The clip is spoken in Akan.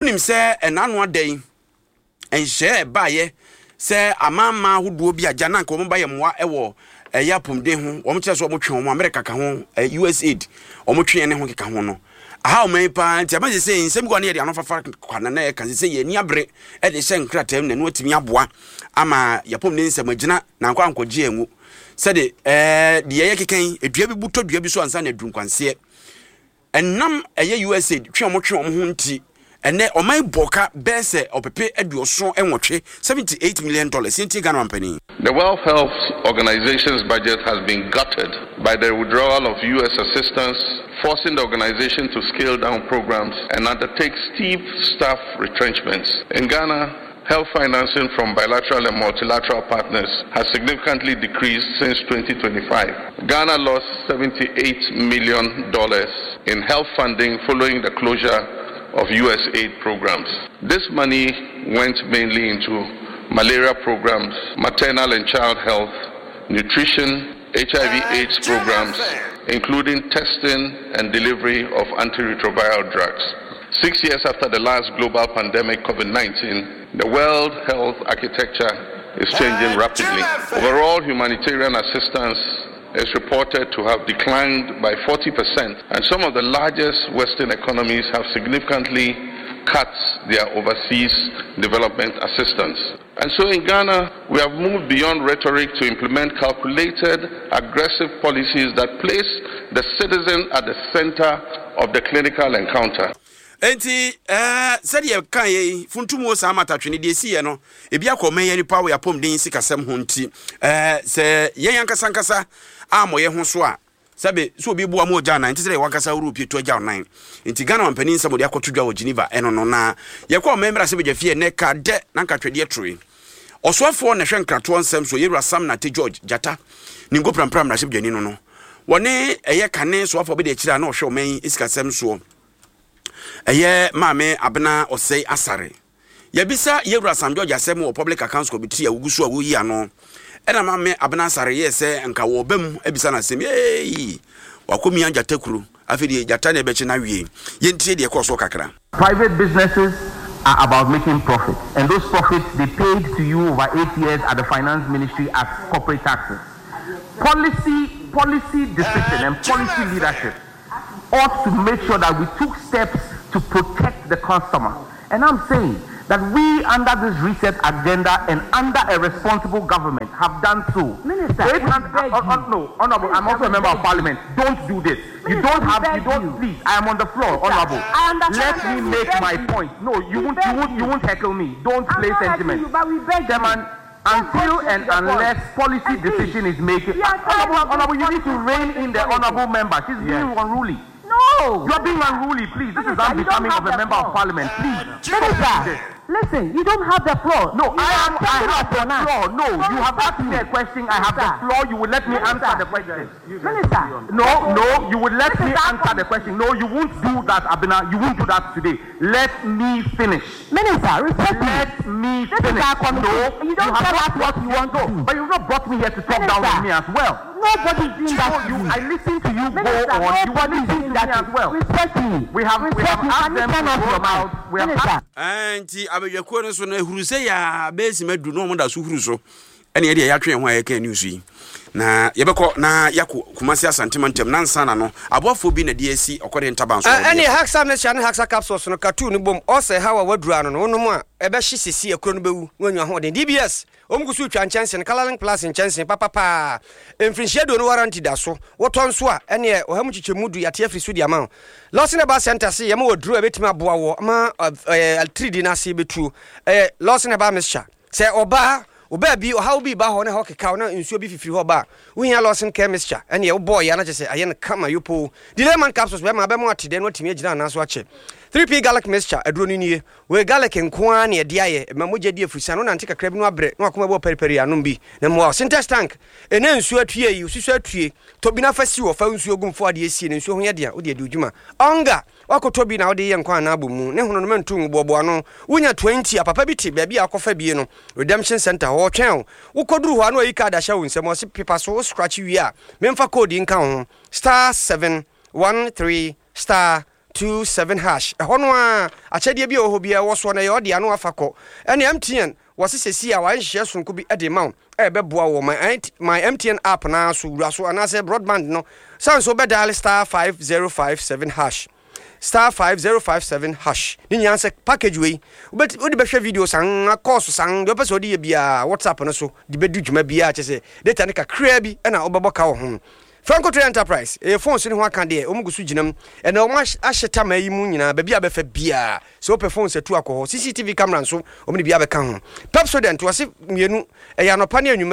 Wonim sɛ ɛnaano ada yi, nhyehyɛeɛ a ɛbaeɛ sɛ amanaman ahodoɔ bi agya na anka wɔn ba yɛ mmoa wɔ ɛyɛ apɔmuden ho, wɔn kyerɛ sɛ wɔn twe wɔn, Amerika ka ho, USAID, wɔn twe yɛn ne ho keka ho no. Aha ɔman yi paa nti ama sɛ sɛ nsɛm bi wɔ ne yɛde ano fafa kwa na na yɛka sɛ sɛ yɛn ani abere de hyɛ nkrataa mu na ɛno atumi aboa ama yɛapɔmuden nsɛm agyina na ankɔ ankɔgye angu sɛde ɛɛ deɛ yɛyɛ keka yi dua bi bu tɔ dua bi so ansa na aduru nkwanseɛ. Ɛnam ɛyɛ USAID twe a wɔtwe wɔn ho nti, ɛnnɛ ɔman yi bɔ ka bɛyɛ sɛ ɔpepe 78, $78 million. Yɛntie Ghana mampanin. The World Health Organization's budget has been gutted by the withdrawal of US assistance, forcing the organization to scale down programs and undertake steep staff retrenchments. In Ghana, health financing from bilateral and multilateral partners has significantly decreased since 2025. Ghana lost $78 million in health funding following the closure of US aid programs. This money went mainly into malaria programs, maternal and child health, nutrition, HIV AIDS programs, including testing and delivery of antiretroviral drugs. Six years after the last global pandemic, COVID 19, the world health architecture is changing rapidly. Overall humanitarian assistance is reported to have declined by 40%, and some of the largest Western economies have significantly cut their overseas development assistance. And so in Ghana, we have moved beyond rhetoric to implement calculated, aggressive policies that place the citizen at the center of the clinical encounter. Enti, eh, sɛdeɛ yɛkaeɛ yi, funtum wɔ saa matatwene deɛ ɛsiiɛ no, ebi akɔ ɔman yi nipa wɔ yɛapɔmuden sikasɛm ho nti, eh, sɛ yɛn ankasa ankasa ammɔ yɛn ho so a, Sɛbe, sɛ obi boa ma ogya nan, nte sɛ deɛ w'ankasa worepie tu agyaw nan. Enti Ghana mampanin nsɛm a wɔde akɔto dwa wɔ Geneva ɛno no, na yɛkɔ ɔman mmarahyɛbadwa fie ɛnnɛ ka dɛ na nka twɛdeɛ toroe. Ɔsoafoɔ na ɛhwɛ nkratoɔ nsɛm so, Yɛwura Sam Nartey George Gyata, ne Nkoprampra mmarahyɛbadwani no no, wɔne ɛyɛ kane soafoɔ bɛdi akyire a na ɔhwɛ ɔman yi sikasɛm soɔ, ɛyɛ Maame Abena Osei Asare. Yɛabisa Yɛwura Sam George asɛm wɔ Public Accounts Committee a wogu so a woyi ano. Ɛna Maame Abena Asare yɛɛ sɛ nka wɔreba mu abisa no asɛm. Eeii! Wakɔmia gyata kuro. Afei deɛ gyata na ɛbɛkye no awie. Yɛntie deɛ ɛkɔɔ soɔ kakra. Private businesses are about making profits and those profits they paid to you over eight years at the finance ministry as corporate taxes. Policy policy decision and policy leadership ought to make sure that we took steps to protect the customer. And I'm saying that we, under this reset agenda and under a responsible government, have done so. Minister, we beg you. No, Honorable, I'm Minister, also a we member of beg you. parliament. Don't do this. You Minister, don't we have, you beg don't, you. please, I am on the floor, Minister, Honorable. I understand Let me we make beg my you. point. No, you We won't, you beg won't, you you. won't heckle me. Don't I'm play not heckling sentiment. you, but we beg you. Chairman, Just go until straight and to the point. unless policy And please, decision is made, we are tired Honorable, of this Honorable, you need to politics, rein in politics, the politics. Honorable member. She's being Yes. unruly. No. You are being unruly, please. This is Minister, you don't unbecoming have of a the member of floor. parliament. Please. Stop doing Minister, this. listen, you don't have the floor. No, You I are am. I taking have up the on us. floor. No, So you have respect asked me me. a question. I have the Minister, floor. You will let me answer Minister, the question. Minister, No, no, you would let this me is our answer the committee. question. No, you won't do that, Abena. You won't do that today. Let me finish. Minister, respect me. Let me This is finish. our committee. No, You you don't have tell not us what brought you want to no, do. but you've not brought me here to talk down on Minister, me as well. nobody's doing that No, to you. you. I listen to you go Minister, on. You will nobody's listen doing to me that to as you. well. Respect me. We have we Respect have me. asked Can you them turn to off roll your mic? out. We have Minister. asked. Ɛɛ nti abadwakuo no so no ehuru sɛ yaa bɛyɛ sima du na wɔn da so huru so ɛne ɛdeɛ yɛatwe yɛn ho a yɛka news yi na yɛbɛkɔ na yɛakɔ Kumasi Asante mantam na nsa na no aboafoɔ bi na de asi ɔkɔdeɛ ntaban so a wɔde Ɛne akɔ. Haxa mixture ne Haxa capsules no ka tuu no bom. Ɔsɛ haw a waduru ano no, wonom a, ɛbɛhye sisi, akuro no bɛwu, na wanya ahoɔden. DBS, Wɔn gu so retwa nkyɛnse no, Colorlink Plus nkyɛnse papa paa. Mfirinhyia 20 warranty da so. Wotɔ nso a, ɛneɛ ɔha mu kyekyɛmu du yɛate afiri so de ama wo. Lawson Herbal Center se yɛma wo aduro a ɛbɛtumi aboa wo ma atiridii no ase bɛtuo. Ɛyɛ Lawson Herbal Mixture. Sɛ ɔbaa, wo baabi ɔhaw bi reba hɔ na ɛhɔ kekaw na nsuo bi fifiri hɔ ba a, wohia Lawson Care Mixture. Ɛneɛ wobɔɔ yɛ a na kyerɛ sɛ ayɛ no kama yopoo. Delayman Capsules bɛma abɛma woate dɛ na woatumi agyina anaa so akyɛ. 3P Garlic Mixture aduro no nie. Wei garlic nko ara na yɛde ayɛ, ɛma mogya di afurusian, wonante kakra bi na wabrɛ na wakoma bɔ paripari anom bi na mmoa wo. Sintex tank, ɛnɛ nsuo atue yi, osusu atue, tɔ bi na fa si hɔ, fa nsuo gu mu, fa adeɛ sie na nsuo ho yɛ den a, wode adi wo dwuma. Ɔnga, woakɔtɔ bi na wode yɛ nkwan anaa abɔ mu, ne hono no mɛnto ngu, boaboa ano. Wonya 20 a, papa bi te baabi a wokɔfa bie no, Redemption Centre hɔ, ɔtwɛn wo. Wokɔduru hɔ a na wayi card ahyɛ wo nsam, ɔse pepa so, wo scratch wie a, memfa code yi nka wo ho, star 713 star. 527 hash. Ɛhɔ no ara, akyɛdeɛ bi a ɛwɔ hɔ biara ɛwɔ soɔ no, ɛyɛ ɔdea na wafa kɔ. Ɛne MTN, wɔse seesei a wɔayɛ nhyehyɛeɛ sononko bi de rema wo a ɛbɛboa wo wɔ My, My MTN app no ara so, wura so anaasɛ broadband no sane so wobɛdial *5057 hash. *5057 hash. Ne nyinaa sɛ package wei, wobɛti, wode bɛhwɛ video san, course san, deɛ wopɛ sɛ wode yɛ biara, WhatsApp no so de bɛdi dwuma biara, kyerɛ sɛ data no kakraa bi na wobɛbɔ ka wɔ ho. Franco Trade Enterprise, ɛyɛ phones ne ho aka deɛ, wɔn gu so gyina mu. Ɛnɛ wɔn ahyɛ tamaa yi mu nyinaa, baabi a bɛfa biara, sɛ wopɛ phones atu akɔ hɔ. CCTV camera nso, wɔn de bi abɛka ho. Pepsodent, wɔse mmienu, ɛyɛ anɔpa ne anwummerɛ.